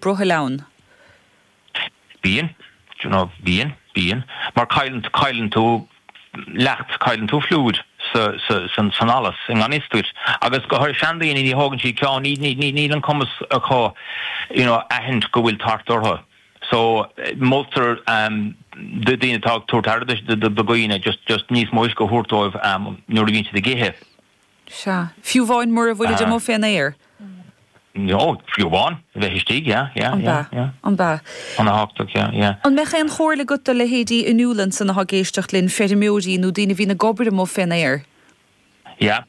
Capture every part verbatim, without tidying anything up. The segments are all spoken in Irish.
brothaill ann? Bíonn, you know, bíonn, bíonn. Mar cailleann cailleann tú leacht cailleann tú fluid sa sa san san allas i ngan fhios duit. Agus go háirithe seandaoine ní thógann siad ceann ní ní níl an cumas acu you know, aithint go bhfuil tart orthu. So moltar um, do daoine atá ag tabhairt aire do dhaoine just just níos mó uisce a thabhairt dóibh um, nuair a bhíonn siad ag ithe. Sea. Fiú amháin mura bhfuil Uh, amuigh fén aer. No, fiú amháin bheith istigh, yeah, yeah, An yeah, ba yeah. an ba. An-tábhachtach, yeah, yeah. An mbeadh aon chomhairle agat do leithéidí inniúlan san atá ag éisteacht linn feirmeoirí nó daoine a bhíonn ag obair amuigh fén aer? Yeah.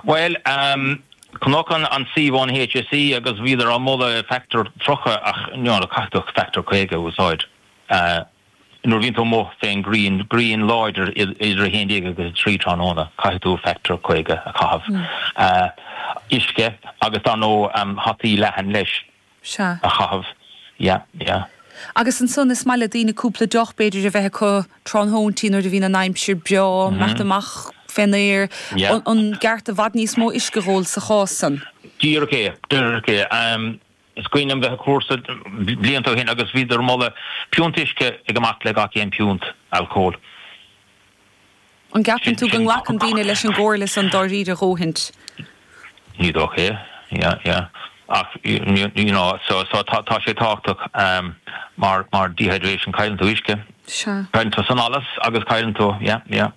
Well, um, chonac an an suíomh an HSE agus bhíodar á moladh factor tríocha ach no, caithfidh tú factor caoga a úsáid. Uh, nuair bhíonn tú amuigh fén grian grian láidir idir a haon déag agus trí tráthnóna caithfidh tú factor caoga a chaitheamh. Mm. Uh, uisce agus dar ndóigh um, hataí leathan leis Sea. a chaitheamh. Yeah, yeah. Agus ansan is maith le daoine cúpla deoch b'fhéidir a bheith acu tráthnóintí nuair a bhíonn an aimsir breá mm -hmm. amach fén aer Yeah. an, an gceart i bhfad níos mó uisce a ól sa chás san. Díreach é, díreach é. Um, is cuimhin liom bheith cúrsa blianta ó shin agus bhíodar ag moladh piúnt uisce ag amach le gach aon piúnt alcóil. An gceapann tú Sin- go sin- nglacann daoine leis an gcomhairle san dáiríre dhóthaint. Ní dócha é, yeah, yeah. Ach you, you know, so, so tá, tá sé tábhachtach um, mar, mar dehydration cailleann tú uisce. Sea. Cailleann tú san allas agus cailleann tú, yeah, yeah.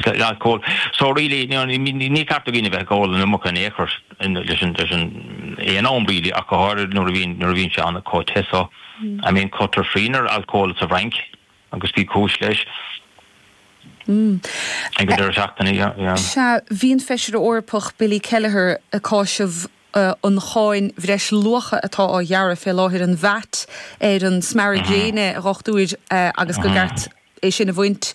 Alcohol. So really, you know, ní, ní ní ceart do dhaoine bheith ag ól an iomarca in aon chor leis an leis an aon am really ach go háirithe nuair a bhíonn nuair a bhíonn sé an chomh te so. I mean cuirtear srian ar alcohol sa Fhrainc agus bhí cúis leis. Mm. Ag an deireadh seachtaine, yeah, yeah. Sea bhí an feisire Eorpach Billy Kelleher ag cáineadh uh, an cháin bhreisluacha atá á ghearradh fé láthair an VAT ar an smearadh gréine a dhochtúir uh, agus go gceart é sin a bhaint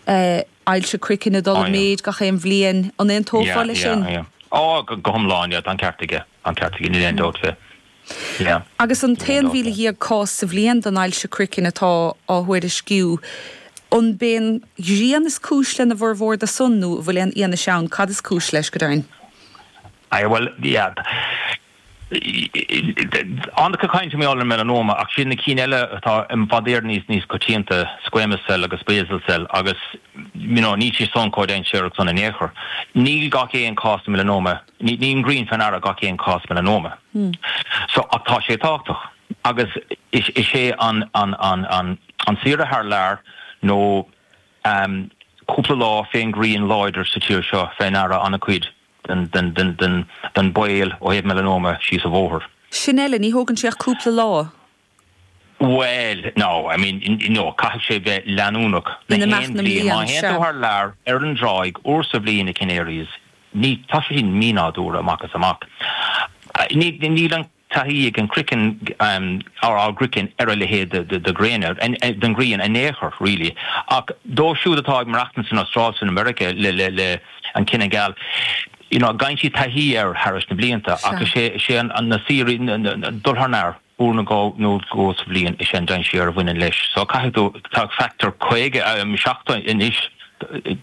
uh, ailse craicinn ag dul Oh, yeah. méid gach aon bhliain an aontófá leis sin. yeah. Ó go go hiomlán yeah, tá an ceart aige an ceart aige níl aon dabht fé. Yeah. Agus an Níl aon t-aon mhíle dhéag cás sa bhliain den ailse craicinn atá á thuairisciú. An b'é grian is cúis lena bhformhór de san nó bhfuil aon fhianaise ann cad is cúis leis go deimhin. I well yeah. An-chuid cainte mé ar melanoma ach sin na cinn eile atá i bhfad Éireann níos níos coitianta squamous cell agus basal cell agus you know, ní sé son chomh dainséarach san in aon chor. Níl gach aon cás melanoma, ní ní an ghrian faoi ndeara gach aon cás melanoma. Hmm. So ach tá sé tábhachtach agus is, is é an, an, an, an, an saoire thar lear nó um, cúpla lá fén grian láidir sa tír seo faoi ndeara an-chuid den, den, den, den, den baol ó thaobh melanoma síos an bóthar. Sin eile ní thógann sé cúpla lá. Well, no, I mean, no, caithfidh sé bheith leanúnach In imeacht na bliain mblian, má sea. théann tú thar lear ar an dtráigh uair sa bhliain na Canaries, ní tá sé sin mínádúrtha amach is amach. Uh, Ní níl an taithí ag an craiceann um, ar á gcraiceann ar a leithéid de, de, de ghréine den ghrian in aon chor really. Ach dóibh siúd atá ag maireachtaint san Astráil san America le, le, le an cine geal. You know, faigheann siad taithí air thar na blianta Sea. ach sé sé an, an na saoirí dul thar lear uair nó dhó nó dhó sa bhliain is an dainséar a bhaineann leis. So caithfidh tú tá factor caoga um, seachtó anois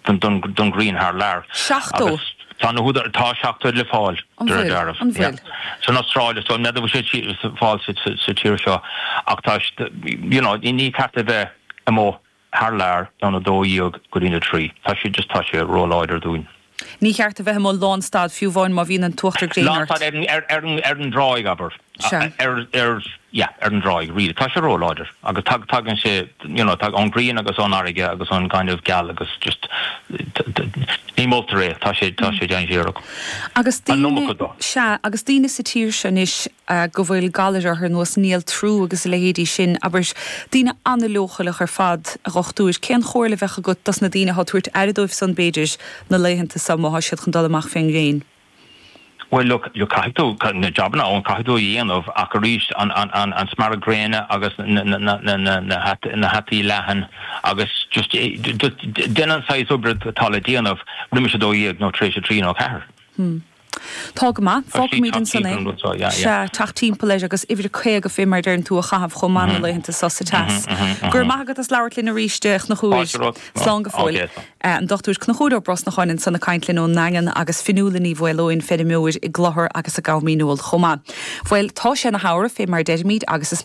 don, don, don ghrian thar lear. Seachtó? Agus Tá na húdair tá seachtó le fáil An bhfuil? dearbh. An bhfuil? San Astráil so ne sé fáil sa sa tír seo ach tá you know, ní ceart a bheith amuigh thar lear ón a dó dhéag go dtí a trí. Tá sé just tá sé róláidir dúinn. Ní cheart a bheith amuigh lánstad fiú amháin má bhíonn an t-uachtar gréine Lánstad ar an- ar ar an- ar an dtráigh abair. Sea. Ar ar yeah, ar an dtráigh really. Tá sé róláidir agus tag tagann sé you know, tag an grian agus an fharraige agus an kind of geal agus just ní moltar é tá sé tá sé dainséarach. Agus An daoine iomarca dó. sea agus daoine sa tír seo anois uh, go bhfuil galar orthu ar nós néaltrú agus a leithéidí sin, abair daoine an-leochaileach ar fad a dhochtúir cén chomhairle a bheadh agat dos na daoine atá ag tabhairt aire dóibh san b'fhéidir na laethanta seo má tá siad chun dul amach fén ngréin. Well look you caithfidh tú na jobanna ón caithfidh tú a dhéanamh ach arís an an an an smearadh gréine agus na na na na na na hat na hataí leathan agus just eh, déan an saghas oibre atá le déanamh roimis a dó dhéag nó tar éis a trí nó ceathair. Tá go maith Tá sí fágfaimid ansan é. teacht timpeall an rud seo, yeah, yeah. Sea teacht timpeall leis agus uimhir caoga fé mar deireann tú a chaitheamh chomh maith na laethanta seo sa teas. Gur maith agat as labhairt linn arís a Chonchúir Fáilte romhat. slán go fóill. Okay, so. Eh, An Dr Conchúr Ó Brosnacháin ansan ag caint linn ón nDaingean agus Fionnuala Ní Mhaoileoin feirmeoir i gClochar agus i gCom Dhíneol chomh maith. Bhuel tá sé na hAmhra fé mar deirimid agus is